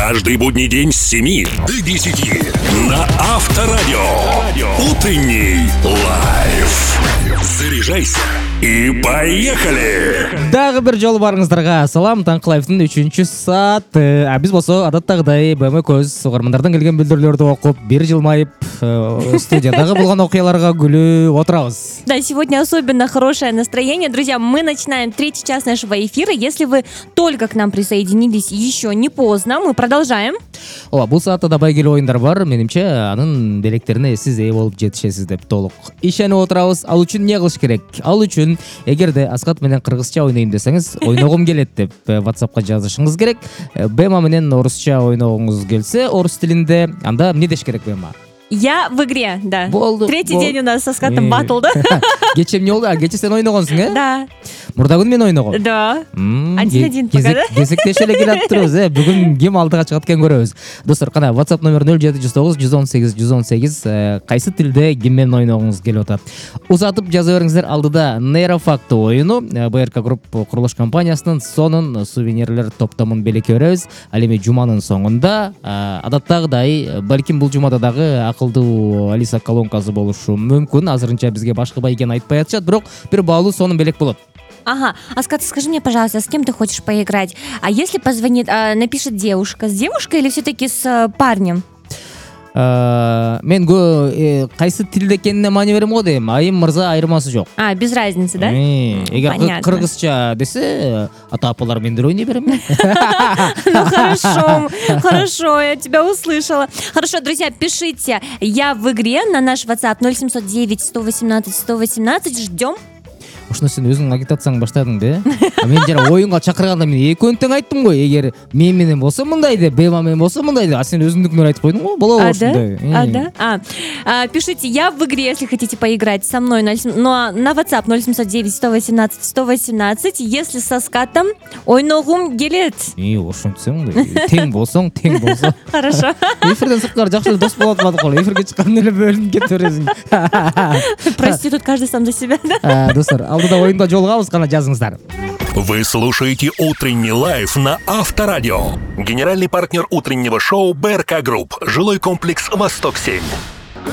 Каждый будний день с 7 до 10 на Авторадио. Утренний лайф. Заряжайся и поехали! Дагы бир жолу барыңыздарга салам. Таңкы лайфтын 3-чү сааты. Биз болсо адаттагыдай көз угармандардан келген билдирүүлөрдү окуп, бир жылмайып, студиядагы болгон окуяларга күлүп отырабыз. Да, сегодня особенно хорошее настроение. Друзья, мы начинаем 3-й час нашего эфира. Если вы только к нам присоединились, еще не поздно, мы продолжаем. Ооба, бул саатта да байгелүү оюндар бар. Менимче, анын белектерине сиз ээ болуп жетишесиз деп толук ишенип отурабыз. Ал үчүн эмне кылыш керек? Ал үчүн эгерде Аскат менен кыргызча ойнойм десеңиз, ойногум келет деп WhatsAppка жазышыңыз керек. Бема менен орусча ойногуңуз келсе, орус тилинде, анда эмне деш керек Бема? Я в игре, да. Болду. Третий день у нас со Скаттом батл, да? Кече эмне болду? Кече сен ойногонсуң, э? Да. Мурда күн мен ойногом. Да. 1-1 пока, да? Кезектеше эле келип атырбыз, Бүгүн ким алдыга чыгат экен көрөбүз. Достор, кана WhatsApp номер 0719 кайсы тилде ким менен ойногуңуз келип атат. Узатып жаза бериңиздер. Алдыда Нейрофакт оюну, БРК Групп курулуш компаниясынын сонун сувенирлер топтомун белекке беребиз. Ал эми жуманын соңунда адаттагыдай, балким бул жумада дагы акылдуу Алиса колонкасы болушу мүмкүн. Азырынча бизге башка бай экенин айтпай атышат, бирок бир баалуу сонун белек болот. Ага, Аскат, скажи мне, пожалуйста, с кем ты хочешь поиграть? А если позвонит, напишет девушка, с девушкой или все-таки с парнем? Мен кайсы тилде экенине маани берем го дейм. Айым мырза айырмасы жок. Без разницы, да? Эгер кыргызча десе, ата-апалар мендер ойнай берем. Ну хорошо, я тебя услышала. Хорошо, друзья, пишите «Я в игре» на наш WhatsApp 0709 118 118. Ждем. Ушуну сен өзүң агитацияңды баштадың да? Мен жана оюнга чакырганда мен экөөнү тең айттым го. Эгер мен менен болсо мындай деп, Бема менен болсо мындай деп. А сен өзүңдүкүнөн айтып койдуң го. Болобу ушундай? Да? Пишите «Я в игре», если хотите поиграть со мной. На WhatsApp 0709 118 118. Если со Скаттом, ойногум келет. Ошентсең да. Тең болсоң. Хорошо. Эфирден сырткары жакшы эле дос болуп атпадык го. Эфирге чыкканда эле бөлүнүп кетип бересиң. Прости, тут каждый сам за себя, да? Достор, алдыда оюнда жолугабыз, кана жазыңыздар. Вы слушаете «Утренний лайф» на Авторадио. Генеральный партнер утреннего шоу БРК Групп. Жилой комплекс «Восток-7».